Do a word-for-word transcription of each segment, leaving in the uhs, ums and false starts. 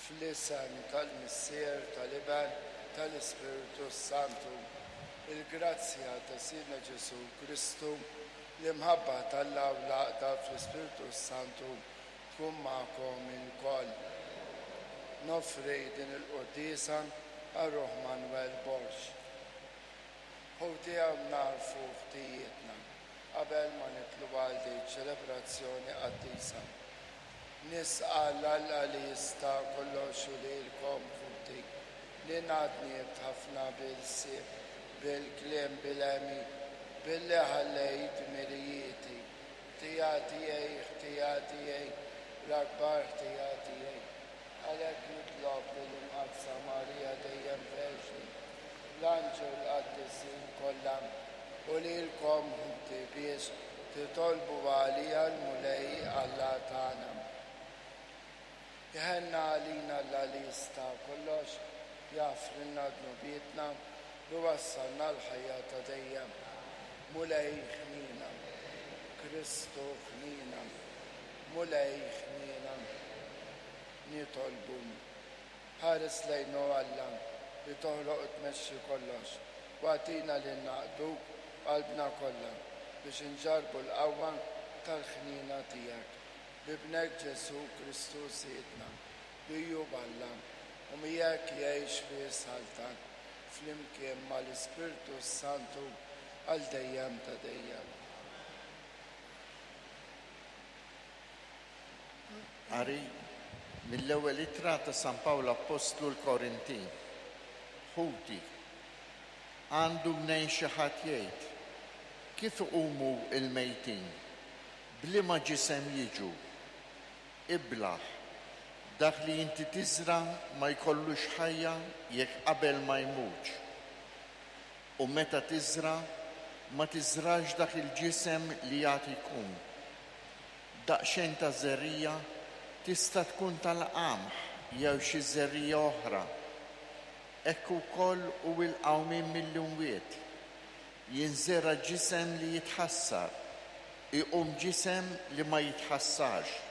Fl-isem tal-Missier, tal-Iben, tal-Ispirtu Santu, il-grazzja ta' Sidna Ġesù Kristu, l-imħabba t'Alla u l-għaqda fl-Ispirtu Santu tkun magħkom ilkoll. Noffri din il-quddiesa għal ruħ Manuel Borg. Ħuti, hawn nagħrfu ħtijietna qabel ma nidħlu għal din ċelebrazzjoni qaddisa. Nistqarr 'l Alla li jista' kollox u lilkom, ħuti, li dnibt ħafna bil-ħsieb, bil-kliem, bil-għemil, billi ħallejt dmirijieti. Ħtija tiegħi, ħtija tiegħi, l-akbar ħtija tiegħi. Għalhekk nitlob lill-Imqaddsa Marija dejjem Verġni, l-anġli u l-qaddisin kollha, u lilkom, ħuti, biex titolbu għalija lill-Mulej Alla tagħna. Iħenn għalina Alla li jista' kollox, jaħfrilna dnubietna u jwassalna għall-ħajja ta' dejjem. Mulej ħnina, Kristu ħnina, Mulej ħnina. Nitolbu. Ħares lejna, o Alla, li toħloq u tmexxi kollox, u agħtina li naqduk b'qalbna kollha biex inġarrbu l-qawwa tal-ħnina tiegħek. B'Ibnek Ġesù Kristu Sidna, li hu Alla, u miegħek jgħix u jsaltan flimkien mal-Ispirtu Santu għal dejjem ta' dejjem. Qari mill-ewwel ittra ta' San Pawl Appostlu lill-Korintin. Ħuti, għandu mnejn xi ħadd jgħid, kif iqumu l-mejtin? B'liema ġisem jiġu? Iblah, dak li inti tiżra' ma jkollux ħajja jekk qabel ma jmutx. U meta tiżra', ma tiżrax dak il-ġisem li għad ikun. Daqsxejn ta' żerriegħa tista' tkun tal-qamħ jew xi żerriegħa oħra. Hekk ukoll hu l-qawmien mill-imwiet. Jinżera' ġisem li jitħassar, iqum ġisem li ma jitħassarx.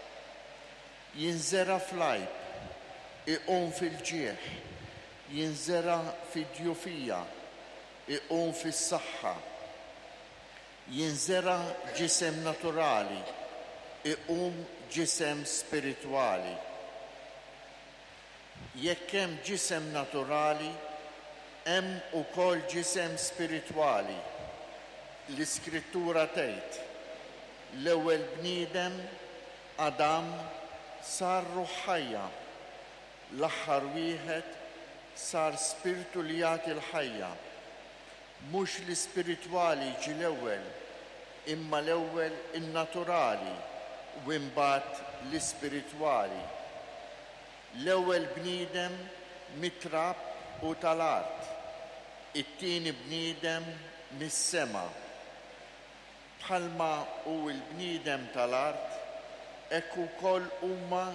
Jinżera' fl-għajb, iqum fil-ġieħ, jinżera' fid-djufija, iqum fis-saħħa. Jinżera' ġisem naturali, iqum ġisem spiritwali. Jekk hemm ġisem naturali, hemm ukoll ġisem spiritwali. L-Iskrittura tgħid, l-ewwel bniedem, Adam, sar ruħ ħajja, l-aħħar wieħed sar spirtu li jagħti l-ħajja. Mhux l-ispiritwali ġie l-ewwel, imma l-ewwel in-naturali u imbagħad l-ispiritwali. L-ewwel bniedem mit-trab u tal-art, it-tieni bniedem mis-sema. Bħalma hu l-bniedem tal-art, hekk ukoll huma